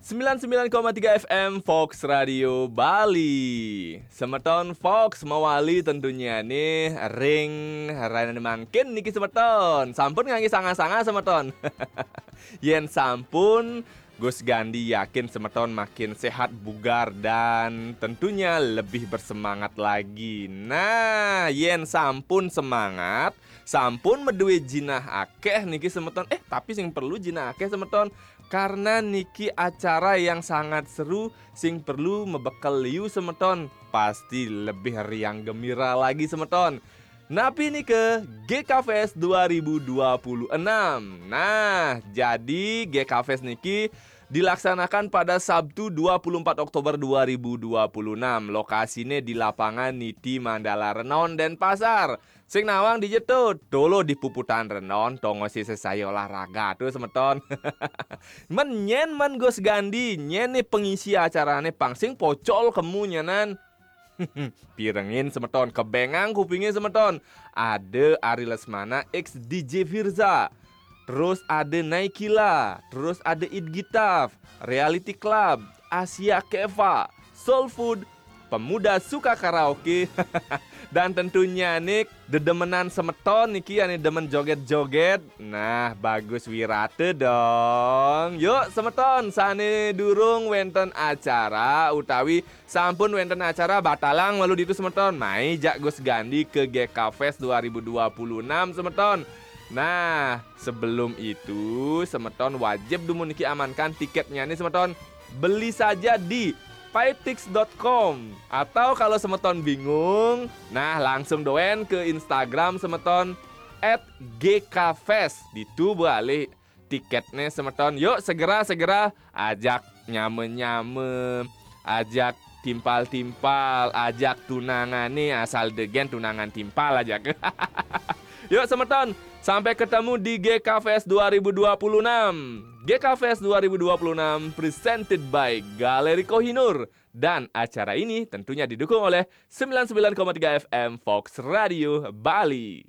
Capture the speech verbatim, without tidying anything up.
sembilan sembilan koma tiga F M Fox Radio Bali. Semeton Fox mawali tentunya nih ring rainane mangkin niki semeton. Sampun ngangge sanga-sanga semeton. Yen sampun, Gus Gandhi yakin semeton makin sehat bugar dan tentunya lebih bersemangat lagi. Nah, yen sampun semangat, sampun meduwe jinah akeh niki semeton. Eh, tapi sing perlu jinah akeh semeton. Karena niki acara yang sangat seru, sing perlu mebekel liu semeton. Pasti lebih riang gembira lagi semeton. Napi nike G K Fest dua ribu dua puluh enam. Nah, jadi G K Fest niki dilaksanakan pada Sabtu dua puluh empat Oktober dua ribu dua puluh enam. Lokasine di lapangan Niti Mandala Renon, Denpasar. Sing nawang dije to, tolo di puputan Renon, tongo sise saya olahraga tuh semeton. Men nyen men Gus Gandhi, nyen nih pengisi acarane pang sing pocol kemu nyenan. Pirengin semeton, kebengang kupingin semeton. Ada Ari Lesmana X D J Firza. Terus ada Naikila, terus ada It Gitaf, Reality Club, Asia Keva, Soul Food, Pemuda Suka Karaoke, dan tentunya nih dedemenan semeton niki ane demen joget-joget. Nah, bagus wirate dong. Yuk semeton, sane durung wenten acara utawi sampun wenten acara batalang malu ditu semeton. Mai jak Gus Gandhi ke G K Fest dua ribu dua puluh enam semeton. Nah, sebelum itu semeton wajib dumun niki amankan tiketnya nih semeton. Beli saja di paitix dot com. Atau kalau semeton bingung, nah langsung doen ke Instagram semeton at G K Fest. Ditu balik tiketnya semeton. Yuk segera-segera ajak nyame-nyame, ajak timpal-timpal, ajak tunangan nih asal degen tunangan timpal ajak. Yuk semeton, sampai ketemu di G K Fest dua ribu dua puluh enam. G K Fest dua ribu dua puluh enam presented by Galeri Kohinoor. Dan acara ini tentunya didukung oleh sembilan sembilan koma tiga F M Fox Radio Bali.